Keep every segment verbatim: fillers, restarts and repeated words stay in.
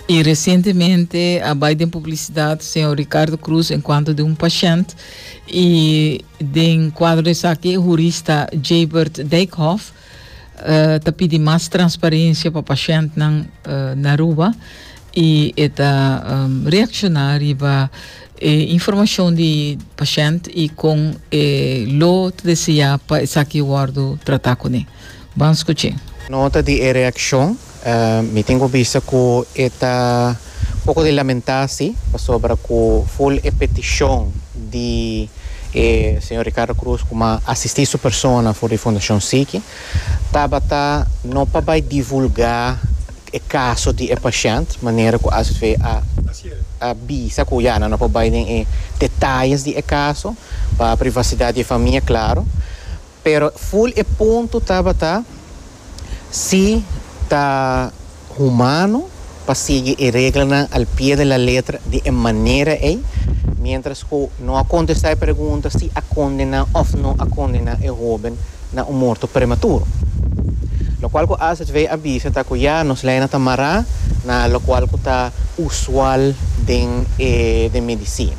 Y recientemente a bay den publicidad señor Ricardo Cruz en cuanto di un paciente y den cuadro esaki hurista Jabert Dijkhoff uh, ta pidi mas transparencia pa paciente na, uh, na Aruba y e ta um, reacciona riba eh, informacion di paciente y con eh, lo desea pa esaki wordo trata cune. Ban scucha. Nota di reaccion, uh, mi tin cu bisa cu ta poco di lamenta si, sobre cu full e peticion di eh, señor Ricardo Cruz como asisti su persona for di Fundacion SIKI, tabata no pa divulga e caso di paciente, manera cu A Z V a a bisa cu ya no pa bay den detaye di e caso, pa privacidad di famia, claro. Pero full e punto tabata si ta humano pa sigui e regla al pie de la letra di manera ey, mientras cu no a contesta e pregunta si a condena of no a condena e hoben na un morto prematuro. Lo cual cu A Z V a bisa ta cu ya nos leynan ta mara na lo cual cu ta usual den eh, den medicina.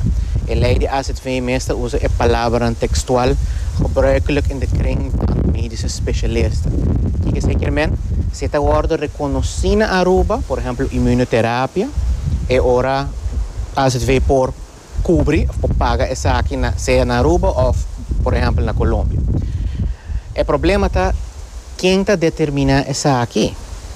E ley di A Z V meestal usa e palabra textual "gebruikelijk in de kring van medische specialisten". Kico esey kiermen? Si ta wordo reconoci na Aruba, por ehempel, immunoterapia, e ora A Z V por cubri of por paga esaki na, sea na Aruba of, por ehempel, na Colombia. E problema ta ken ta determina esaki.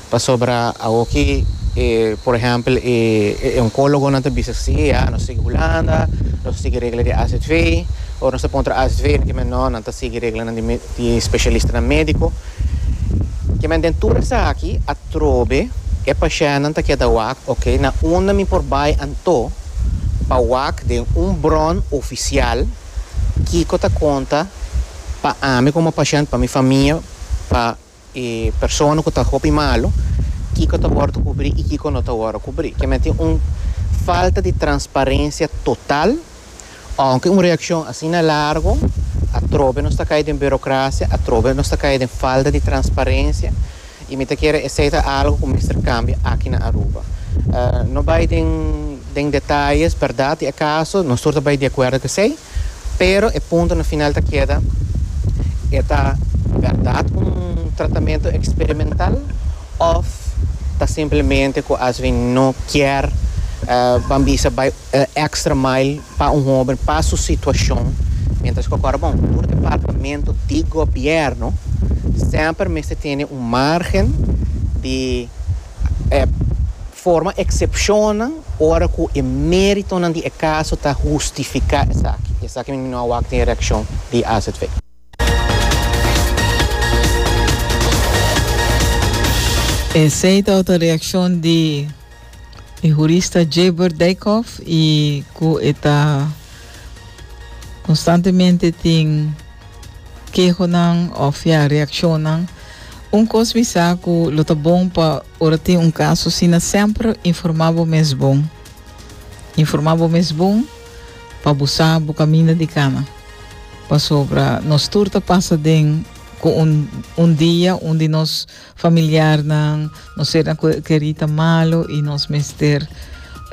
Pasobra aki, eh, por ehempel, eh, oncologo nan ta bisa si, ah, nos sigui Hulanda, nos sigui regla di A Z V, of nos contra A Z V, cu no, nan ta sigui regla di, di specialista medico. Kiermen den tur esaki, atrobe, e paciente ta keda wak, ok, na unda mi por bay anto, pa wak den un bron oficial, kico ta conta pa ami como paciente, pa mi famia, pa eh, persona cu ta hopi malo, kico ta wordo cubri y kico no ta wordo cubri. Kiermen tin un falta di transparencia total, aunke un reaccion asina largo, atrobe nos ta cay den burocracia, atrobe nos ta cay den falta di transparencia, y mi ta kere esey ta algo cu mester cambia aki na Aruba. Uh, no bay den, den detaye, berdad, e caso, nos tur ta di acuerdo cu esey, pero e punto na final ta keda, ta berdad un tratamento experimental of ta simplemente cu A Z V no kier uh, ban bisa bay uh, extra mile pa un hoben, pa su situacion, mientras cu awor, bon, tur departamento di gobierno semper mester tin un margen di eh, forma excepcion ora cu e merito di e caso ta hustifica esaki. Esaki mi a wak den reaccion di A Z V. Esey ta e reaccion di e hurista Jabert Dijkhoff y cu ta constantemente tin kehonan of ya reaccionan. Un cos mi sa cu lo ta bon pa ora tin un caso asina semper informa bo mes bon. Informa bo mes bon pa bo sa bo caminda di cana. Pasobra nos tur ta pasa den cu un, un dia un di nos familiarnan, nos sernan keri ta malo y nos mester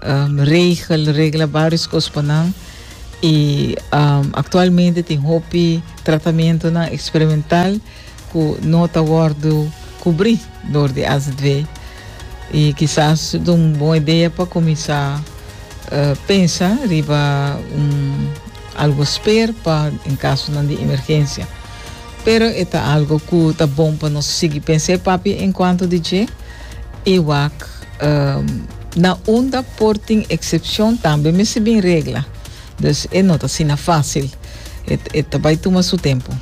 um, regel, regla varios cos pa nan. Y um, actualmente tin hopi tratamentonan experimental cu no ta wordo cubri door di A Z V. Y kisas un bon idea pa cuminsa uh, pensa riba un algo spare pa en caso di emergencia. Pero ta algo cu ta bon pa nos sigui pensa papia en cuanto di dje y wak um, na unda por tin excepcion tambe mester bin regla. Dus e no ta asina facil. E, e bay tuma su tempo.